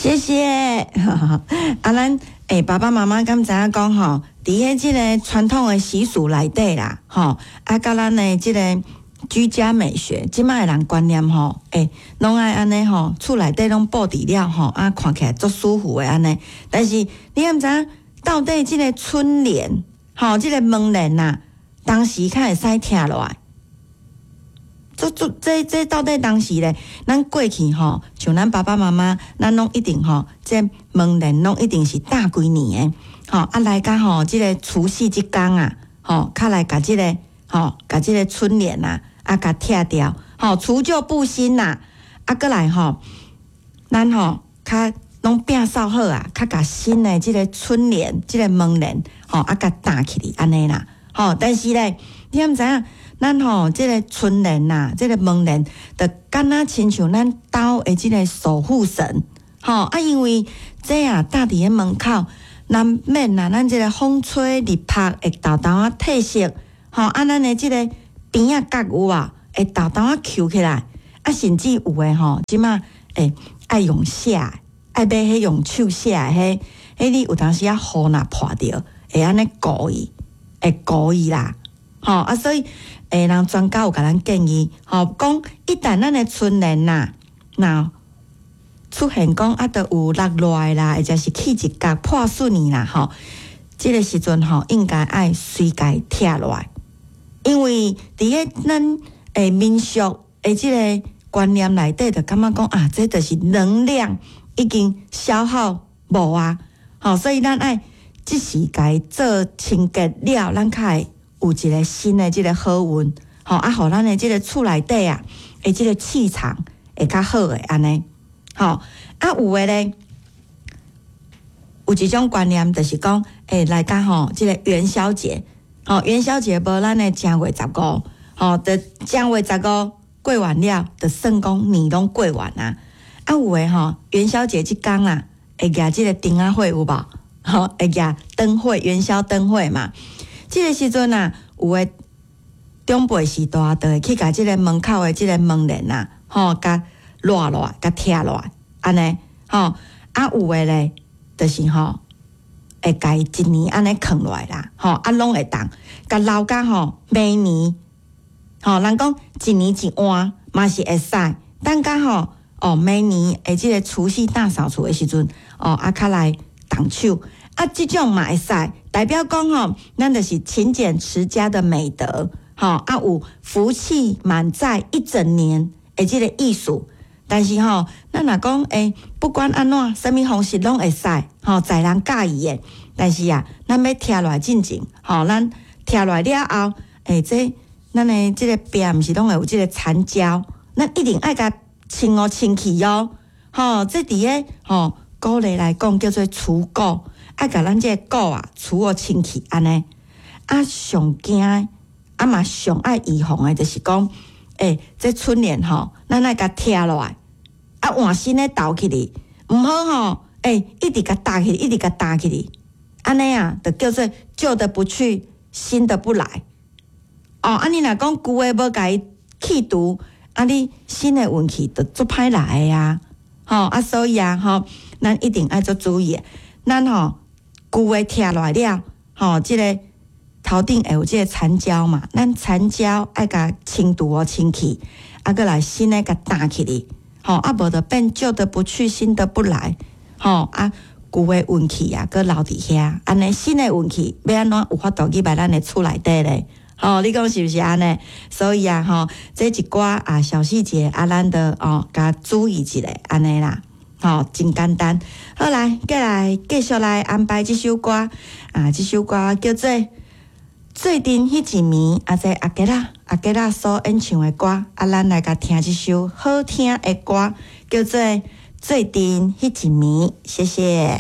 謝謝。啊，咱爸爸媽媽敢知影講吼，佇彼這個傳統的習俗內底啦，吼，啊，佮咱的這個居家美學，這擺的人觀念吼，攏愛按呢吼，厝內底攏布置了吼，啊，看起來足舒服的按呢。但是你敢知影，到底這個春聯，吼，這個門簾呐，當時較會使拆落來？這這這這到底當時咧，咱過去吼，像咱爸爸媽媽，咱攏一定吼，這門簾攏一定是搭幾年的，吼啊來到吼，這個除夕這工啊，吼，較來共這個吼，共這個春聯啊，啊，共拆掉，吼，除舊布新啦，啊，閣來吼，咱吼較攏摒掃好啊，較共新的這個春聯、這個門簾，吼，啊，共搭起來按呢啦，吼，但是咧，你敢知影？咱吼，這個春聯呐，這個門簾，就敢若親像咱兜的這個守護神，吼啊，因為這啊搭佇咧門口，難免啊，咱這個風吹日曬會沓沓仔褪色，吼啊，咱的這個邊仔角有無會沓沓仔抾起來，啊，甚至有的吼，這馬會愛用寫，愛買彼用手寫的，彼彼你有當時仔雨若破著，會按呢糊去，會糊去啦，吼啊，所以。人專家有共咱建議，吼，講一旦咱的春聯呐，若出現講啊，著有落落來啦，或者是起一角破損去啦，吼，這個時陣吼，應該愛隨共拆落來，因為佇咧咱民俗的這個觀念內底，就感覺講啊，這就是能量已經消耗無啊，吼，所以咱愛即時共做清潔了，咱較會有一個新的這個好運，吼啊，予咱的這個厝內底啊，的這個氣場會較好的按呢，吼啊有的咧，有一種觀念就是講，來到吼這個元宵節，吼元宵節無咱的正月十五，吼就正月十五過完了，就算講年攏過完啊。啊有的吼元宵節這工啊，會舉這個燈仔會有無？吼會舉燈會，元宵燈會嘛。這個時陣啊，有的長輩序大，就會去共這個門口的這個門簾啊，吼，共摞落來，共拆落來，按呢，吼，啊有的咧，就是吼，會共伊一年按呢囥落來啦，吼，啊攏會當，共留甲吼明年，吼，人講一年一換嘛是會使，等甲吼，哦，明年的這個除夕大掃除的時陣，哦，啊較來動手。啊，這種嘛會使，代表講吼，咱就是勤儉持家的美德，吼啊有福氣滿載一整年的這個意思。但是吼，咱若講不管按怎，啥物方式攏會使，吼，在人佮意的。但是啊，咱欲拆落來進前，吼，咱拆落來了後，這咱的這個壁毋是攏會有這個殘膠，咱一定愛共清哦清氣哦，吼，這佇個吼古禮來講叫做除垢。愛共咱這個垢啊除予清氣按呢，啊上驚啊嘛上愛預防的，就是講，這春聯吼，咱愛共拆落來，啊換新的鬥起去，毋好吼，一直共搭起去，一直共搭起去，按呢啊，就叫做舊的不去，新的不來。哦，啊你若講舊的無共伊去除，啊你新的運氣就足歹來的啊，吼啊所以啊吼，咱一定愛足注意，咱吼。舊的拆落來了，吼，這個頭頂會有這個殘膠嘛？咱殘膠愛共清除予清氣，啊，閣來新的共搭起去，吼，啊，無就變舊的不去，新的不來，吼，啊，舊的運氣啊，閣留佇遐，按呢新的運氣欲按怎有法度入來咱的厝內底咧？吼，你講是毋是按呢？所以啊，吼，這一寡啊小細節啊，咱著哦，共注意一下，按呢啦。吼，真簡單。好來，過來繼續來安排這首歌啊，這首歌叫做《做陣彼一暝》，啊，這阿杰仔阿杰仔所演唱的歌，啊，咱來共聽這首好聽的歌，叫做《做陣彼一暝》。謝謝。